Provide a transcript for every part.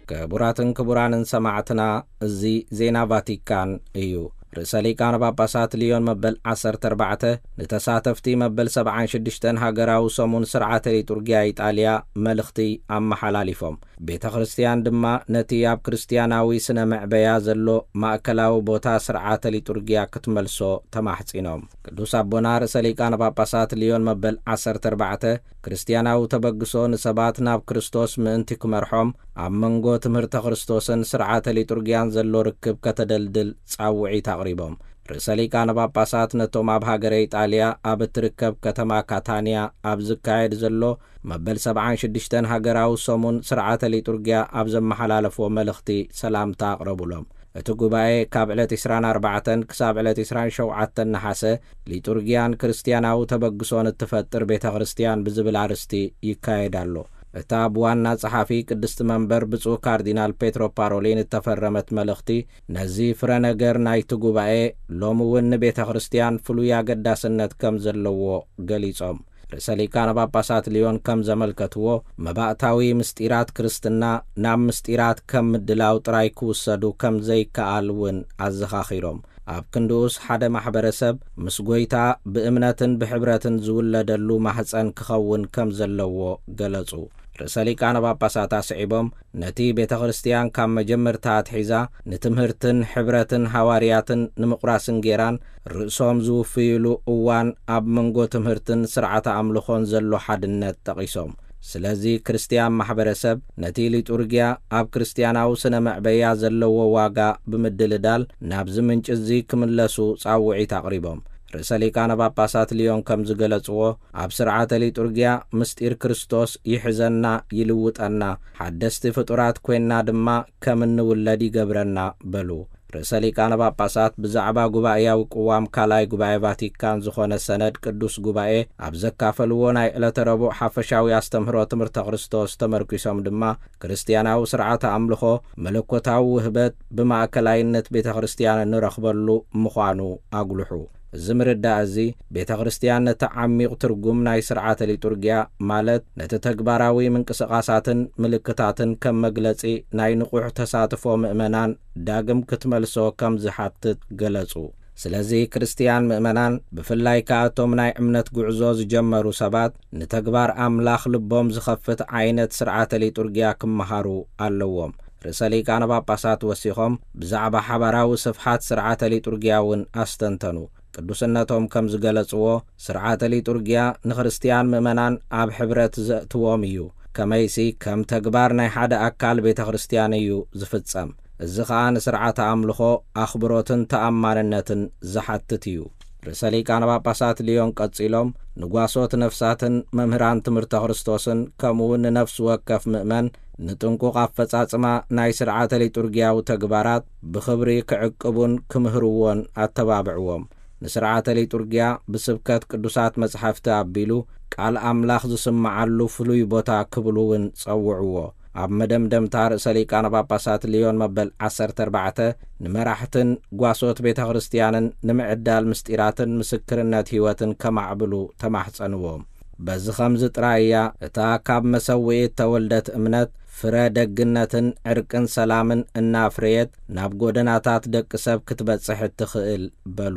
ክቡራትን ክቡራንን ሰማዕትና፣ እዚ ዜና ቫቲካን እዩ። ርእሰ ሊቃነ ጳጳሳት ሊዮን መበል ዓሰርተ ኣርባዕተ ንተሳተፍቲ መበል ሰብዓን ሽዱሽተን ሃገራዊ ሰሙን ስርዓተ ሊጡርጊያ ኢጣልያ መልእኽቲ ኣመሓላሊፎም። ቤተ ክርስቲያን ድማ ነቲ ኣብ ክርስቲያናዊ ስነ መዕበያ ዘሎ ማእከላዊ ቦታ ስርዓተ ሊጡርጊያ ክትመልሶ ተማሕጺኖም። ቅዱስ ኣቦና ርእሰ ሊቃነ ጳጳሳት ሊዮን መበል ዓሰርተ ኣርባዕተ ክርስቲያናዊ ተበግሶ ንሰባት ናብ ክርስቶስ ምእንቲ ክመርሖም፣ ኣብ መንጎ ትምህርተ ክርስቶስን ስርዓተ ሊጡርጊያን ዘሎ ርክብ ከተደልድል ጻውዒት ኣቕሪቦም። ርእሰ ሊቃነ ጳጳሳት ነቶም ኣብ ሃገረ ኢጣልያ ኣብ እትርከብ ከተማ ካታንያ ኣብ ዝካየድ ዘሎ መበል ሰብዓን ሽዱሽተን ሃገራዊ ሰሙን ስርዓተ ሊጡርጊያ ኣብ ዘመሓላለፍዎ መልእኽቲ ሰላምታ ኣቕረቡሎም። እቲ ጉባኤ ካብ ዕለት ዕስራን ኣርባዕተን ክሳብ ዕለት ዕስራን ሸውዓተን ነሓሰ፣ ሊጡርጊያን ክርስቲያናዊ ተበግሶን እትፈጥር ቤተ ክርስቲያን ብዝብል ኣርእስቲ ይካየድ ኣሎ። እታ ብዋና ጸሓፊ ቅድስቲ መንበር ብፁዕ ካርዲናል ፔትሮ ፓሮሊን እተፈረመት መልእኽቲ፣ ነዚ ፍረ ነገር ናይቲ ጉባኤ፣ ሎሚ እውን ንቤተ ክርስቲያን ፍሉይ ኣገዳስነት ከም ዘለዎ ገሊጾም። ርእሰ ሊቃነ ጳጳሳት ሊዮን ከም ዘመልከትዎ፣ መባእታዊ ምስጢራት ክርስትና ናብ ምስጢራት ከም ምድላው ጥራይ ክውሰዱ ከም ዘይከኣል እውን ኣዘኻኺሮም። ኣብ ክንድኡስ ሓደ ማሕበረሰብ ምስ ጐይታ ብእምነትን ብሕብረትን ዝውለደሉ ማህጸን ክኸውን ከም ዘለዎ ገለጹ። ርእሰ ሊቃነ ጳጳሳት ኣስዒቦም፣ ነቲ ቤተ ክርስቲያን ካብ መጀመርታ ኣትሒዛ ንትምህርትን ሕብረትን ሃዋርያትን ንምቑራስን ጌራን ርእሶም ዝውፍይሉ እዋን ኣብ መንጎ ትምህርትን ስርዓተ ኣምልኾን ዘሎ ሓድነት ጠቒሶም። ስለዚ ክርስቲያን ማሕበረሰብ ነቲ ሊጡርጊያ ኣብ ክርስቲያናዊ ስነ መዕበያ ዘለዎ ዋጋ ብምድልዳል ናብዚ ምንጪ እዚ ክምለሱ ጻውዒት ኣቕሪቦም። ርእሰ ሊቃነ ጳጳሳት ሊዮን ከም ዝገለጽዎ፣ ኣብ ስርዓተ ሊጡርጊያ ምስጢር ክርስቶስ ይሕዘና፣ ይልውጠና፣ ሓደስቲ ፍጡራት ኮይና ድማ ከም እንውለድ ይገብረና በሉ። ርእሰ ሊቃነ ጳጳሳት ብዛዕባ ጉባኤያዊ ቅዋም ካልኣይ ጉባኤ ቫቲካን ዝኾነ ሰነድ ቅዱስ ጉባኤ ኣብ ዘካፈልዎ ናይ ዕለተ ረቡዕ ሓፈሻዊ ኣስተምህሮ ትምህርተ ክርስቶስ ተመርኪሶም ድማ፣ ክርስትያናዊ ስርዓተ ኣምልኾ መለኮታዊ ውህበት ብማእከላይነት ቤተ ክርስቲያን እንረኽበሉ ምዃኑ ኣጉልሑ። እዚ ምርዳእ እዚ፣ ቤተ ክርስቲያን ነቲ ዓሚቕ ትርጉም ናይ ስርዓተ ሊጡርጊያ፣ ማለት ነቲ ተግባራዊ ምንቅስቓሳትን ምልክታትን ከም መግለጺ ናይ ንቑሕ ተሳትፎ ምእመናን ዳግም ክትመልሶ ከም ዝሓትት ገለጹ። ስለዚ ክርስትያን ምእመናን፣ ብፍላይ ከኣ እቶም ናይ እምነት ጉዕዞ ዝጀመሩ ሰባት፣ ንተግባር ኣምላኽ ልቦም ዝኸፍት ዓይነት ስርዓተ ሊጡርጊያ ክመሃሩ ኣለዎም። ርእሰ ሊቃነ ጳጳሳት ወሲኾም ብዛዕባ ሓባራዊ ስፍሓት ስርዓተ ሊጡርጊያ እውን ኣስተንተኑ። ቅዱስነቶም ከም ዝገለጽዎ፣ ስርዓተ ሊጡርጊያ ንክርስትያን ምእመናን ኣብ ሕብረት ዘእትዎም እዩ። ከመይሲ ከም ተግባር ናይ ሓደ ኣካል ቤተ ክርስቲያን እዩ ዝፍጸም። እዚ ኸኣ ንስርዓተ ኣምልኾ ኣኽብሮትን ተኣማንነትን ዝሓትት እዩ። ርእሰ ሊቃነ ጳጳሳት ሊዮን ቀጺሎም፣ ንጓሶት ነፍሳትን መምህራን ትምህርተ ክርስቶስን ከምኡ እውን ንነፍሲ ወከፍ ምእመን ንጥንቁቕ ኣፈጻጽማ ናይ ስርዓተ ሊጡርጊያዊ ተግባራት ብኽብሪ ክዕቅቡን ክምህርዎን ኣተባብዕዎም። ንስርዓተ ሊጡርጊያ ብስብከት ቅዱሳት መጻሕፍቲ ኣቢሉ ቃል ኣምላኽ ዝስምዓሉ ፍሉይ ቦታ ክብሉ እውን ጸውዕዎ። ኣብ መደምደምታ ርእሰ ሊቃነ ጳጳሳት ሊዮን መበል ዓሰርተ ኣርባዕተ ንመራሕትን ጓሶት ቤተ ክርስቲያንን ንምዕዳል ምስጢራትን ምስክርነት ሕይወትን ከማዕብሉ ተማሕጸንዎም። በዚ ኸምዚ ጥራይ እያ እታ ካብ መሰውኢ እተወልደት እምነት ፍረ ደግነትን ዕርቅን ሰላምን እናፍረየት ናብ ጎደናታት ደቂ ሰብ ክትበጽሕ እትኽእል በሉ።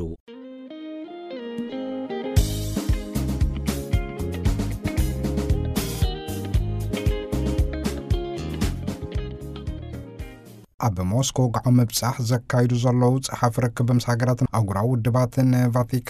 ኣብ ሞስኮ ወግዓዊ ምብጻሕ ዘካይዱ ዘለዉ ጸሓፊ ርክብ ምስ ሃገራትን ኣህጉራዊ ውድባትን ቫቲካን